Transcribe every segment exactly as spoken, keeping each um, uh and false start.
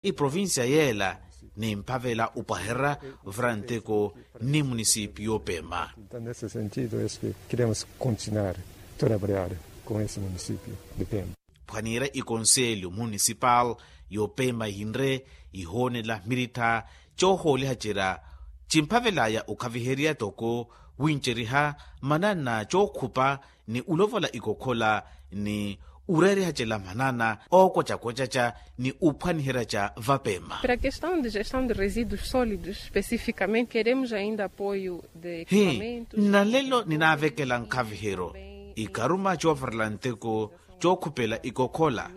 Iprovincia yeela nimphavela opwahererya vura nteko ni munisipi yopema. Nesse sentido es que queremos continuar trabalhar com esse município de pemba. Phwaniira ikonselyo munisipal yopema ihinre ihoonela mirittha coohooliha cira cimphavelaya okhaviherya toko winceriha manana cookhupa ni ulovola ikokhola ni ureeriha cela manana ookwacakocaca ni uphwaniherya ca vapema. Para a questão de gestão de resíduos sólidos especificamente queremos ainda apoio de hi equipamentos. Nnalelo ninaavekela nkhaviheryo ikaruma coovarela nteko cookhupela ikokhola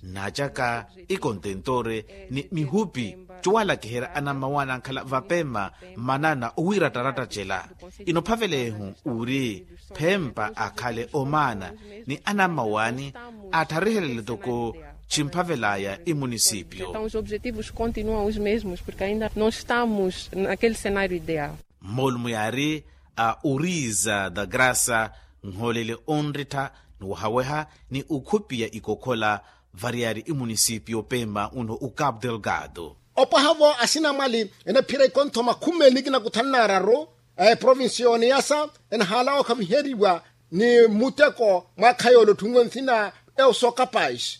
naacaka ikontentore ni mihupi cowalakiherya anammawaani ankhala vapema manana owiirattaratta cela. Inoophavelehu uri phempa akhale omaana ni anammawaani attharihelele toko chimphavelaya imunisipyo. Então os objetivos continuam os mesmos porque ainda não estamos naquele cenário ideal. Moolumo yaari a uriza da graça nhoolele onrittha ni wahaweha ni ukhupiya ikokhola variyari imunisipi yopema uno ukapu delgado. Opwaha-vo asinamwali enaphira ikonthoma khumeni nikina kuthanu naararu a eprovinsi yooniyasa enahaala okhaviheriwa ni muteko mwaakha yoole otthunwe nthina euso kapais.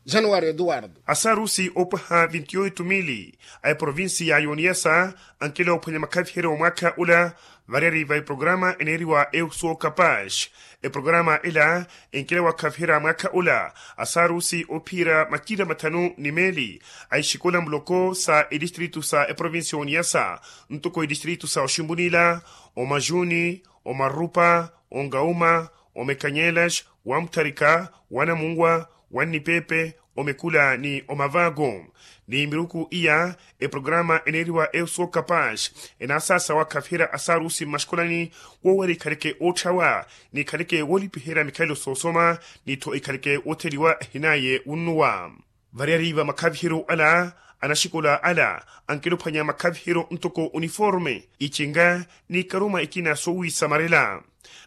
Januwari eduwardo. Asarusi opwaha vinti oitu mili a eprovinsi ya yoniyasa ankela ophwanya makhaviheryo wa mwaakha ula variyari va eprograma eneeriwa euso kapash. Eprograma ela enkela wakhaviherya mwaakha ula asarusi ophiira macira mathanu ni meeli a exikola muloko sa edistritu sa eprovinsi ya oniyasa ntoko edistritu sa oximbunila, omajuni, omarupa, ongauma, omekanyelas, wamutharika, wanamunwa, wannipepe, omekula ni omavaako. Ni miruku iya eprograma eneeriwa euso kapash enaasaasa wakhaviherya asarusi mmaxikolani woowera ikhaleke ootthawa ni ikhaleke woolipiherya mikhalelo soosoma ni-tho ikhaleke wootheliwa ehinaye wunnuwa. Variyari va makhaviheryo ala anaxikola ala ankela ophwanya makhaviheryo ntoko uniforme, icinga ni ikaruma ikina soowisamarela.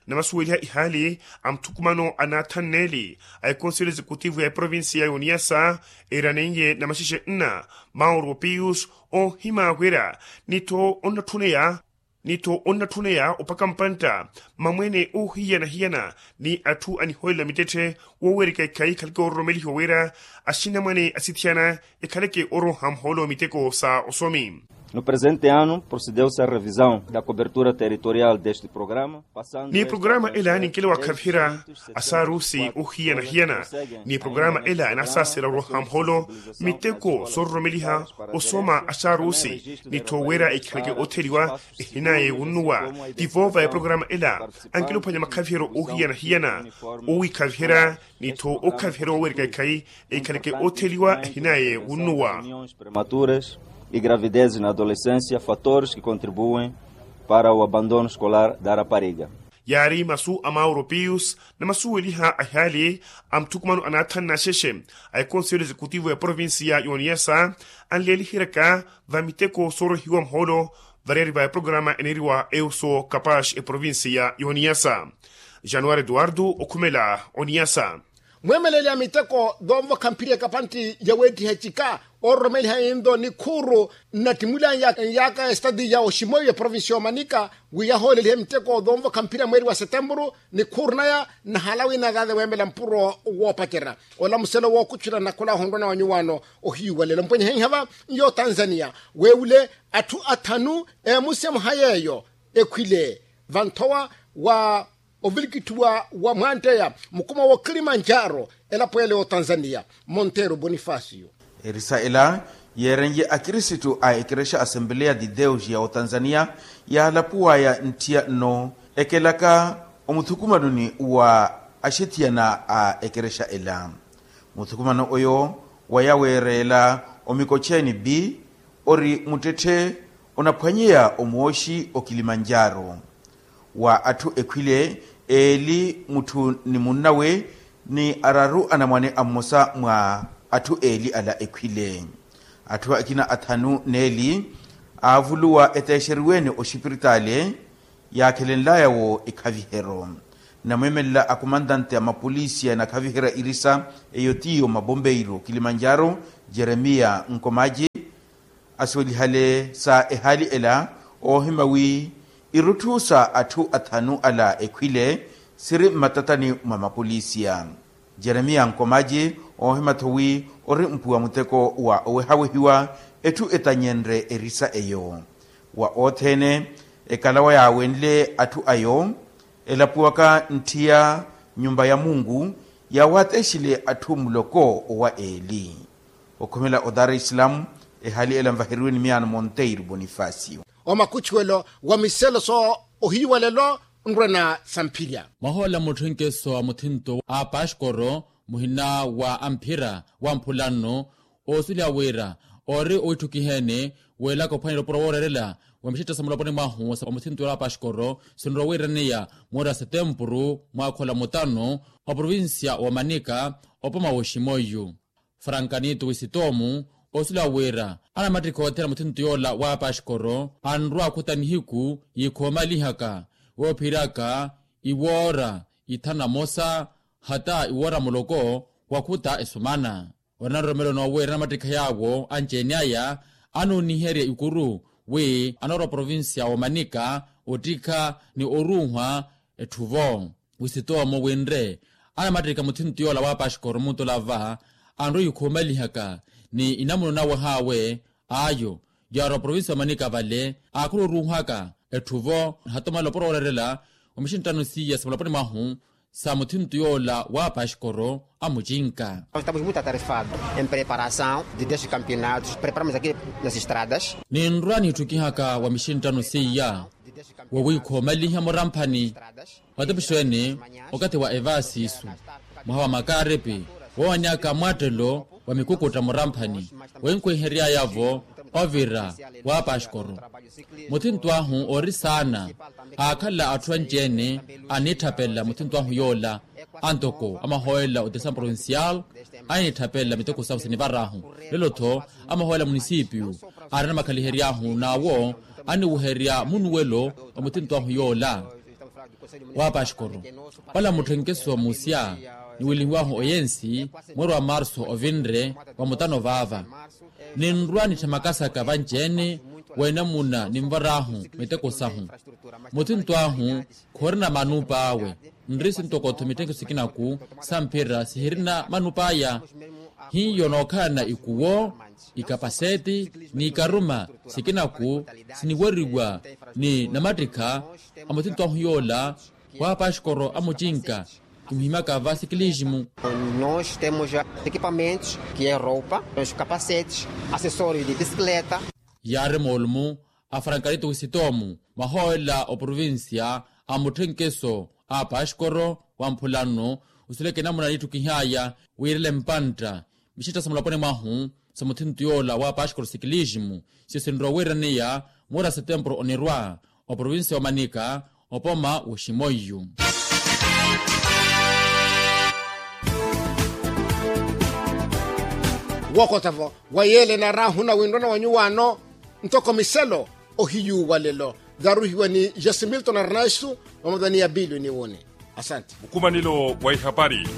Namasuweliha ihaali a muthukumano a naathanneeli a ekonselyo exekutivu ya eprovinsi ya yoniyasa eeraneiye namaxexe nna mauro pius oohimaawerya ni-tho onnatthuneya ni-tho onnatthuneya opaka mpantta mamwene oohiyana-hiyana ni atthu anihoolela mittetthe woowerika ikhayi ekhaleke oororomelihiwa wira axinamwane asithiyana ekhaleke ooroha muhoolo miteko sa osomi. No presente ano procedeu-se a revisão da cobertura territorial deste programa. Ni programa ela ninkela wakhaviherya asarusi ohiyana-hiyana ni programa ela enaasaasela oroha muholo miteko soororomeliha osoma asarusi ni-tho wira ikhaleke otheliwa ehinaye wunnuwa. Tivo va eprograma ela ankela ophwanya makhaviheryo ohiyana-hiyana owikhaviherya ni-tho okhaviherya owerika ikhayi ikhaleke otheliwa ehinaye wunnuwa. Prematuras e gravidez na adolescencia fatores que contribuem para o abandono escolar da rapariga. Yaari masu a mauro pius namasuweliha a ihaali a muthukumano anaathanna axexe a ekonselyo exekutivu ya provinsiya y'oniyasa anleeliheryaka va miteko soorohiwa muhoolo variyari va eprograma eneeriwa euso kapash eprovinsiya y'oniyasa. Januwari eduwardo okhumela oniyasa. Mweemeleli a miteko doonvokha mphiri ekapantti yaweettiha ecika oororomeliha inlo nikhuuru nnattimulani yaaka estati ya oximoiwe provinsi y'omanika wi yahoolelihe miteko doonvokha mphiri a mweeri wa setempuru nikhuuru naya nnahaala wina azaze weemela mpuro woopacerya. Ola muselo wookutthula nnakhola ohonrwana wa nyuwaano ohiyuwalela mpwenye henhava y'otanzaniya weewule atthu athanu eemusemuha yeeyo ekhwile vanthowa wa ovilikithiwa wa mwanteya mukuma wa kilimanjaro elapo ele y'otanzaniya. Monteiro bonifacio. Erisa ela yeerenye akirisitu a ekerexa asembeleya de deus ya otanzaniya yaalapuwaya ntthiya nno ekelaka omuthukumanoni wa axethiyana a ekerexa ela. Muthukumano oyo waya weereela omikocheeni bi ori muttetthe onaphwanyeya omwooxi okilimanjaro wa atthu ekhwile eeli mutthu ni munnawe ni araru anamwane a mmosa mwa atthu eeli ala ekhwile. Atthu akina athanu n'eli aavuluwa eteexeriweene oxipiritaale yaakhelenlaya-wo ekhaviheryo. Namweemelela akomantante a mapolisi anakhaviherya irisa eyo tiyo mabombeiro kilimanjaro, jeremiya nkomaji, asiwelihale sa ehaali ela oohima wi irutthu sa atthu athanu ala ekhwile siri mmatatani mwa mapolisiya. Jeremiya nkomaji oohima-tho wi ori mpuwa muteko wa owehawehiwa etthu etanyenrye erisa eyo. Wa othene ekalawa yaawenle atthu ayo elapuwaka ntthiya nyumba ya mungu, yaawatexile atthu muloko owa eeli. Okhomela o dar es salaam, ehaali ela nvaheriwe ni miyaano monteiro bonifacio. Omakuchuwelo wa miselo so ohiyu wa lelo nrwena samphirya. Mwahoola mutthenkeso a muthinto a paxkoro muhina wa amphira wa mphulanno, oosuliha wira ori owitthukiheene weelaka ophwanela opuro wooreerela wa mixetta sa muloponi mwahu sa muthinto wa paxkoro sinrowa wiiraneya moori a setempuru mwaakhola mutano, oprovincia wa manika opoma woximoyu. Frankanito wisitomu osuliwa wira anamattikha othela muthinto yoola wa paxkoro anrwa akhuta nihiku yikhoomalihaka woophiraka iwoora ithanu na mosa hata iwoora muloko wakhuta esumana. Ori na nroromelo noowiira anamattikha yaawo anci-ene aya anooniherya ikuru wi anoora oprovincia wa manika ottikha ni oruuhwa etthuvo. Wisitomo winre anamattikha muthinto yoola wa paxkoro muntula va anrwa yikhuumalihaka ni inamuno nawe haawe ayo yaari oprovincia wa manika vale aakhula oruuhaka etthuvo. Hata omalela opuro wooreerela wa mixinttano siiya sa mulaponi mwahu sa muthinto yoola wa paxkoro amucinka. Estamos muito atarefado em preparação de dez campeonatos preparamos aqui nas estradas. Ninrwa niitthukihaka wa mixinttano siiya wowiikhoomaliha muramphani. Matepixo ene okathi wa evaasiisu mwaha wa makaaripi woowanyaka mwattelo wa mikukutta muramphani wenkhwiheryaya-vo ovira wa paxkoro. Muthinto ahu ori saana aakhala atthu anci-ene aniitthapela muthinto ahu yoola antoko amahoolela o desampronsial aniitthapela miteko sahu sinivar'ahu lelo-tho amahoolela munisipiyu aari anamakhalihery'ahu n'awo aniweherya munuwelo wa muthinto ahu yoola wa paxkoro. Wala mutthenkeso musya niwilihiwahu oyensi mweeri wa marso ovinre wa mutano vaava ninrwa nitthe makasaka vanci-ene wa inamuna ninvar'ahu miteko sahu. Muthinto ahu khorina manup'awe nri sintoko-tho mitthenkeso sikinaku sa mphira sihirina manup'aya. Hiyo nookhalana ikuwo ikapaseti n'ikaruma sikinaku siniweriwa ni namattikha a muthinto ahu yoola wa paxkoro amucinka kimuhimyaka va sikilisimu. Nos temos equipamentos que é roupa, temos capacetes, acessórios de bicicleta. Yaari moolumu a frankarito wisitomu mwahoolela oprovincia a mutthenkeso a paxkoro wa mphulano osuleke namuna niitthukih'aya wiirele mpantta mixetta sa mulaponi mwahu sa muthinto yoola wa paxkoro sikilisimu siyo sinrowa wiiraneya moora setempuru onirwa oprovincia wa manika opoma woximoiyu. Wookota-vo wa yeele enar'ahu nawinrwana wa nyuwaano ntoko miselo ohiyu wa lelo. Varuhiwa ni jasimilton arnaisu vamodani ya bilio ni wuni. Asante. Mukumanilo wa ihapari.